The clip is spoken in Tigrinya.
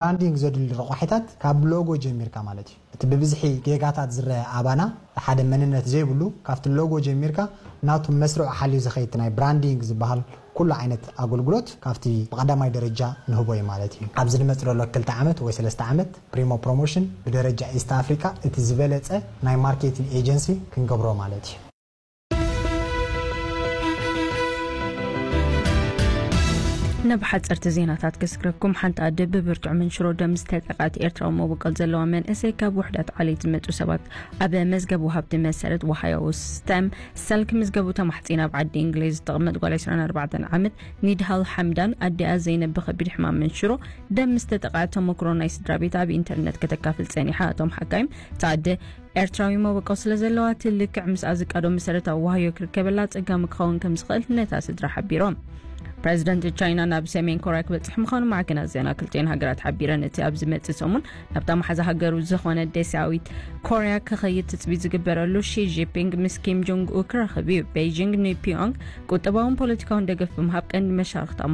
ብራንዲንግ ዘድሊ ረቋሒታት ካብ ሎጎ ጀሚርካ ማለት እዩ። እቲ ብብዝሒ ጌጋታት ዝረአ ኣባና ሓደ መንነት ዘይብሉ ካብቲ ሎጎ ጀሚርካ ናቱ መስርዑ ሓልዩ ዝኸይድ ናይ ብራንዲንግ ዝበሃል ኩሉ ዓይነት ኣገልግሎት ካብቲ ብቐዳማይ ደረጃ ንህቦ እዩ ማለት እዩ። ኣብዚ ዝመጽእ ዘሎ ክልተ ዓመት ወይ ሰለስተ ዓመት ፕሪሞ ፕሮሞሽን ብደረጃ ኢስት ኣፍሪካ እቲ ዝበለጸ ናይ ማርኬቲንግ ኤጀንሲ ክንገብሮ ማለት እዩ። ናብ ሓፀርቲ ዜናታት ክስግረኩም። ሓንቲ ኣደ ብብርቱዕ መንሽሮ ደም ዝተጠቃት ኤርትራዊ መበቆል ዘለዋ መንእሰይ ካብ ውሕዳት ዓሌት ዝመፁ ሰባት ኣብ መዝገብ ወሃብቲ መሰረት ዋሃዮ ስተም ሰል ክምዝገቡ ተማሕፂና። ኣብ ዓዲ እንግሊዝ ዝተቐመጥ ጓል ዕስራን ኣርባዕተን ዓመት ኒድሃል ሓምዳን ኣዲኣ ዘይነብ ብከቢድ ሕማም መንሽሮ ደም ዝተጠቃት ተመክሮ ናይ ስድራ ቤት ኣብ ኢንተርነት ከተካፍል ፀኒሓ። እቶም ሓካይም እቲ ኣደ ኤርትራዊ መበቆል ስለ ዘለዋ እቲ ልክዕ ምስኣ ዝቃዶ መሰረታዊ ዋህዮ ክርከበላ ኣጸጋሚ ክኸውን ከም ዝኽእል ነታ ስድራ ሓቢሮም። ፕረዚደንት ቻይና ናብ ሰሜን ኮርያ ክበጽሕ ምዃኑ ማዕከናት ዜና ክልቲኤን ሃገራት ሓቢረን። እቲ ኣብ ዝመጽእ ሰሙን ናብታ መሓዛ ሃገሩ ዝኾነ ደሴያዊት ኮርያ ክኸይድ ትጽቢት ዝግበረሉ ሺ ጂንፒንግ ምስ ኪም ጆንግ ኡ ክራኸብ እዩ። ቤይጂንግ ንፒዮንግ ቁጠባውን ፖለቲካውን ደገፍ ብምሃብ ቀንዲ መሻርኽታ